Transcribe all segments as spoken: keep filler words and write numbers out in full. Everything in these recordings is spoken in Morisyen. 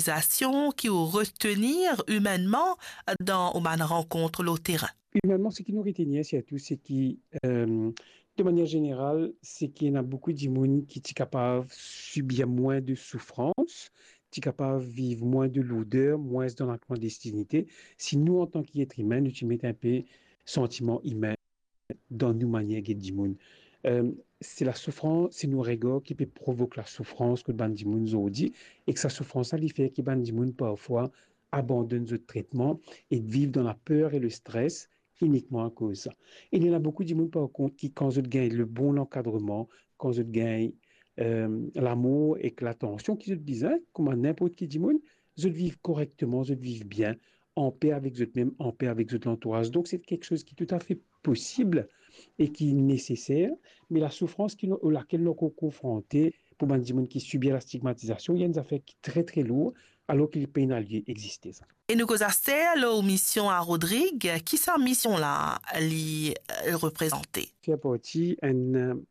sensibilizasion ki ou retenir imennman dan ou bann rankont lor terin? Imennman, seki nou retenir sirtou, se ki, eh, de manier zeneral, se ki ena boukou dimoun ki ti kapav sibir mwin de soufrans, ti kapav viv mwin de lourder, mwins dan laklandestinite, si nou, antan ki et imin, nou ti met inpe santiman imin dan nou manier get dimoun. Eh, se lasoufrans, se nou regar ki pe provok lasoufrans kot bann dimoun zordi, ek sa soufrans la, li fer ki bann dimoun parfwa abandonn zot tretman e viv dan laper e lestres inikman akoz sa. E li ena boukou dimoun, par kont, ki kan zot gagn le bon lankadreman, kan zot gagn, eh, lamour ek latansion ki zot bizin, kouma ninport ki dimoun, zot viv korekteman, zot viv bien, anpe avek zot mem, anpe avek zot lantouraz. Donk, se kiksoz ki toutafe posib e ki neseser, me lasoufrans ki nou, lakel nou ankor konfronte pou bann dimoun ki sibir lastigmatizasion, li enn zafer ki tre, tre lour, alor ki li pena lie egziste, sa. E nou koz aster lor mision a Rodrig, ki sa mision la li, eh, reprezante? Fer parti enn,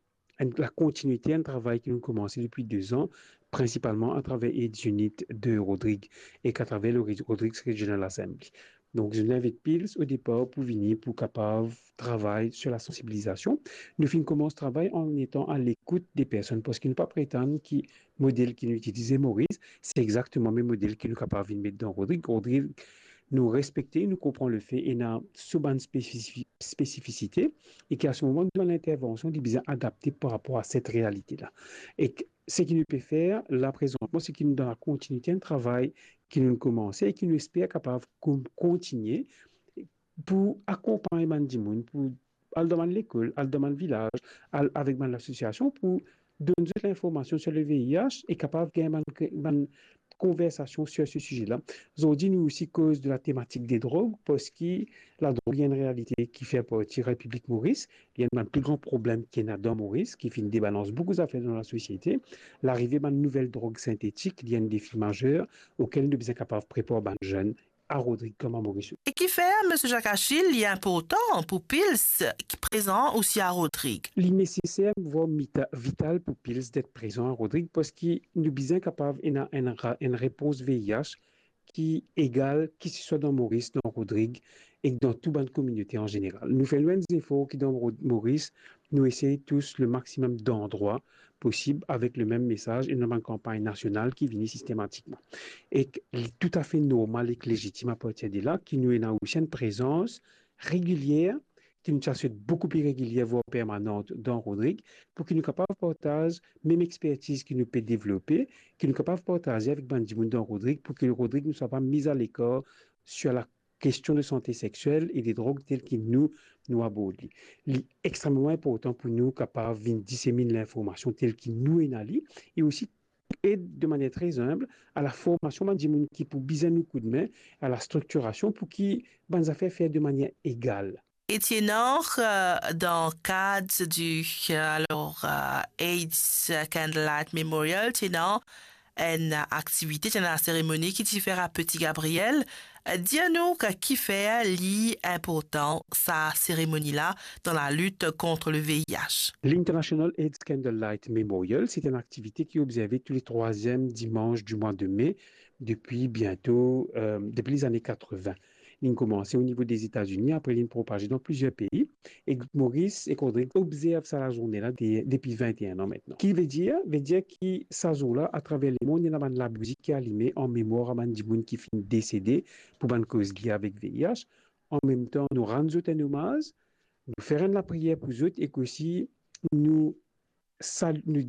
enn, lakontinite enn travay ki nou koumanse depi de zan, prinsipalman atraver AIDS Unit de Rodrig ek atraver le Re-, Rodrigues Regional Assembly. Donk, nou invit Pils o depar pou vini, pou kapav travay sir lasansibilizasion. Nou finn koumans travay an etan a lekout de personn, parski nou pa pretann ki model ki nou itilize Moris, se exakteman mem model ki nou kapav vinn met dan Rodrig. Rodrig, nou respekte, nou konpran lefe ena so bann spesifi-, spesifisite, e ki a se moman nou bann intervansion, li bizin adapte par rapor a set realite la. E k-, seki nou pe fer la prezantman, seki nou dan lakontinite enn travay ki nou komanse e ki nou esper kapav kon-, kontinie pou akonpagn bann dimoun, pou al dan bann lekol, al dan bann vilaz, al avek bann lasosiasion pou donn zot linformasion sir le V I H e kapav gagn bann, bann konversasion sir se size la. Zordi, nou osi koz de latematik de drog, parski ladrog li enn realite ki fer parti Repiblik Moris, li enn bann pli gran problem ki ena dan Moris, ki finn debalans boukou zafer dan lasosiete. Larive bann nouvel drog sintetik, li enn defi mazer okel nou bizin kapav prepar bann zenn a Rodrig kouma Moris. E kifer Misie Jacques Achille li inportan pou Pils ki prezan osi a Rodrig? Li neseser, vwar mita-, vital pou Pils det prezan a Rodrig, parski nou bizin kapav ena enn ra-, enn repons V I H ki egal, kisiswa dan Moris, dan Rodrig, ek dan tou bann kominote an zeneral. Nou fer nou enn zefor ki dan Ro-, Moris, nou esey tous le maximum d'andrwa posib avek le mem mesaz, e nou ena bann kanpagn nasional ki vini sistematikman. Ek li toutafe normal ek lezitim apartir de la ki nou ena osi enn prezans regilier, ki nou ti a swet boukou pli regilier, vwar permanan dan Rodrig, pou ki nou kapav partaz mem expertiz ki nou pe devlope, ki nou kapav partaze avek bann dimoun dan Rodrig, pou ki Rodrig nou swa pa miz a lekar sir la kestion de sante sexiel e de drog tel ki nou, nou abord li. Li extrememan inportan pou nou kapav vinn disemin linformasion tel ki nou ena li, e osi ed de manier tre zenb a laformasion bann dimoun ki pou bizin nou koudme, a lastriktirasion pou ki bann zafer fer de manier egal. E ti ena, euh, dan kad di, euh, alor, euh, AIDS Candlelight Memorial, ti ena enn aktivite, ti ena seremoni ki ti fer a Petit Gabriel. Euh, dir nou ki, kifer li inportan sa seremoni la dan lalit kont le V I H. L'International AIDS Candlelight Memorial, se enn aktivite ki obzerve tou le trwaziem dimans di mwa de me depi biento, euh, depi lezane katreven. Linn koumanse o nivo de Zetazini, apre linn propaze dan plizier pei, e Moris e Rodrig obzerv sa lazourne la de-, depi vinteen an aster. Ki vedir? Vedir ki sa zour la, atraver lemond, ena bann labouzi ki alime an memwar a bann dimoun ki finn desede pou bann koz lie avek V I H. An mem tan, nou rann zot enn omaz, nou fer enn lapriyer pou zot, ek osi nou sal-, nou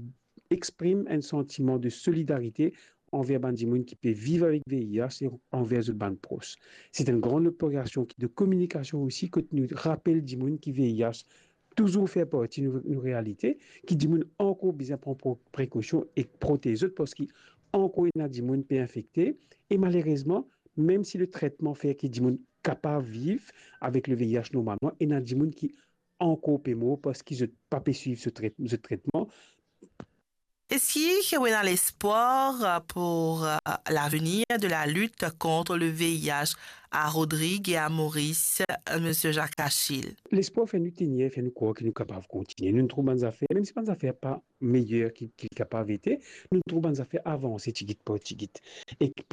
exprim enn santiman de solidarite anver bann dimoun ki pe viv avek V I H e anver zot bann pros. Se enn gran operasion ki de kominikasion osi, kot nou rapel dimoun ki V I H touzour fer parti nou, nou realite, ki dimoun ankor bizin pran pro-, prekosion e protez zot, parski ankor ena dimoun pe infekte, e malerezman, mem si le tretman fer ki dimoun kapav viv avek le V I H normalman, ena dimoun ki ankor pe mor parski zot pa pe swiv so tret-, zot tretman. Eski ou ena lespwar, euh, pou, euh, lavenir de lalit kont le V I H a Rodrig e a Moris, euh, Misie Jacques Achille? Lespwar fer nou tenir, fer nou krwar ki nou kapav kontinie. Nou trouv bann zafer, mem si bann zafer pa meyer ki, ki kapav ete, nou trouv bann zafer avanse tigit par tigit. E pli